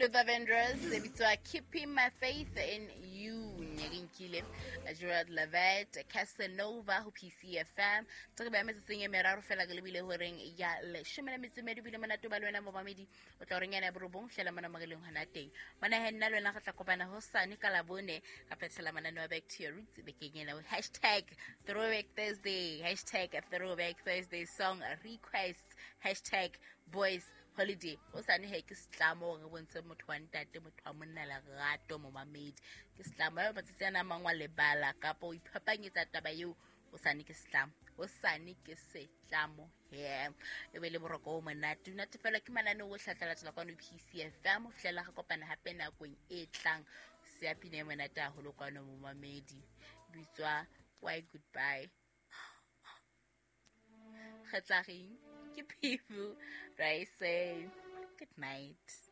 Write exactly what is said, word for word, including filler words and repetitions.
Luther Vandross e bitswa Keeping My Faith in You. Ne re nkile Gerald Levett Casanova ho P C F M. Tse re ba metsotsong e meraro fela re lebile horeng ya leshome le metso e mmedi. Bile monate ba le wena momamedi, o tla horeng yana ya borobong fihlela mona moreleng hona teng mona. He, nna le wena re tla kopana hosane ka Labone, ka phethela mananeo a Back to Your Roots bekeng ena. Hashtag throwback Thursday, hashtag throwback Thursday song requests, hashtag boys holiday. O sane he, ke setlamo gore re bontshe motho wa ntate, motho wa monna lerato. Momamedi, ke setlamo eo matsatsi ana a mang wa lebala kapa o iphapanyetsa taba eo. O sane ke setlamo, o sane ke setlamo he, e be le boroko o monate, o natefelwa ke mananeo o hlatlalatela kwano P C F M ho fihlela re kopana hape nakong e tlang. Seapine e monate haholo kwano momamedi, bitswa Why Goodbye. Re tla reng ke people, right? Say good night.